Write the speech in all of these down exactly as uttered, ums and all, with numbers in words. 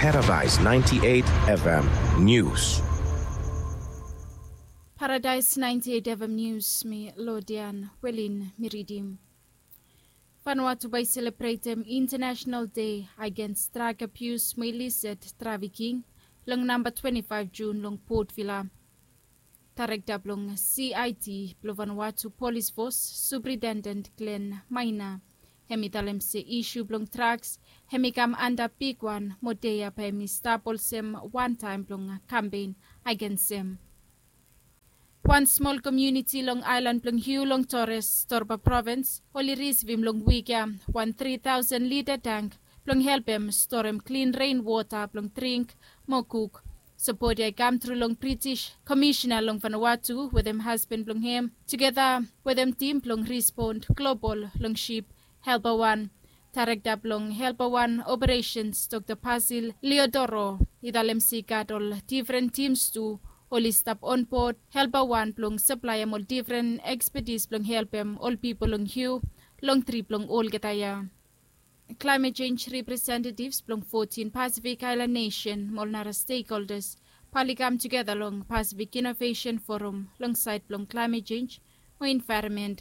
Paradise ninety-eight F M News. Paradise ninety-eight F M News, mi Lodian Welin mi ridim. Vanuatu bae i selebretem International Day Against Drug Abuse mo Illicit Trafficking long namba twenty-five June long Port Vila. Daerekta blong C I D blong Vanuatu Polis Fos, Superintendent Glenn Maina, hem i talem se isu blong drugs hem i kam anda bigwan mo dei ya bae hem i stap olsem wantaem blong kampen agensem. Wan smol komuniti long aelan blong Hiu long Torres, Torba Provins, oli risivim long wik ya wan tri taosen lita tank blong helpem storem klin ren wota blong dring mo kuk. Sapot ya i kam tru long British Komisina long Vanuatu wetem hasban blong hem tugeta wetem tim blong rispon global long sip Helpa Wan. Daerekta blong Helpa Wan Operesens, Dokta Basil Leodoro, i talem se i gat ol difren tims tu oli stap onbod Helpa Wan blong saplaem ol difren ekspetis blong helpem ol pipol long Hiu long trip blong olgeta ya. Klaemet jenj representetivs blong fotin Pasifik aelan nesen mo ol nara stekholdas bae oli kam tugeta long Pasifik Inovesen Foram long saed blong klaemet jenj mo envaeronmen.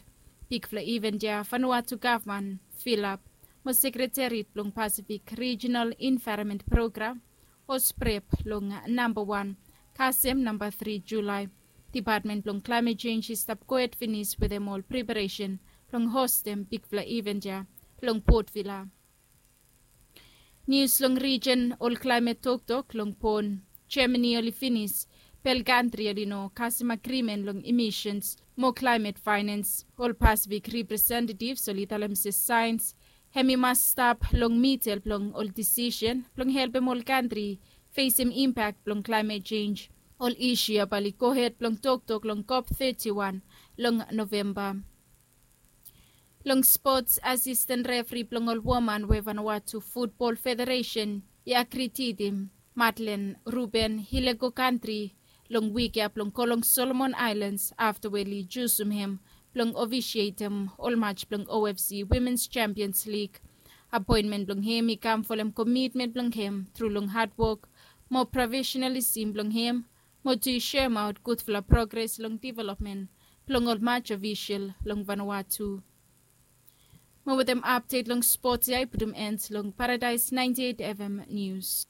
Bigfala iven ya Vanuatu gavman, Filap, mo sekreteri blong Pasifik Rijinal Envaeronmen Program, o SPREP, long namba wan kasem namba tri Julae. Dipatmen blong klaemet jenj i stap gohed finis wetem ol preparesen blong hostem bigfala iven ya long Port Vila. Nius long rijen, ol klaemet toktok long Bon, Jemani oli finis. Bel kantri oli no kasem agrimen long imisens mo klaemet faenens. Ol Pasifik representetivs oli talem se saens hem i mas stap long midel blong ol disisen blong helpem ol kantri fesem impak blong klaemet jenj. Ol isu ya bae oli gohed blong toktok long COP thirty-one long Novemba. Long spots, asisten refri blong ol woman we Vanuatu Futbol Federesen i agri tidim, Madlen Ruben, i lego kantri long wik ya blong go long Solomon Aelans afta we oli jusum hem blong ofisietem ol maj blong O F C Womens Champions League. Apoenmen blong hem i kam folem komitmen blong hem tru long hadwok mo profesenalisim blong hem mo tu i soemaot gudfala progres long developmen blong ol maj ofisel long Vanuatu. Mo wetem apdet long spots ya i putum en long Paradise ninety-eight F M Nius.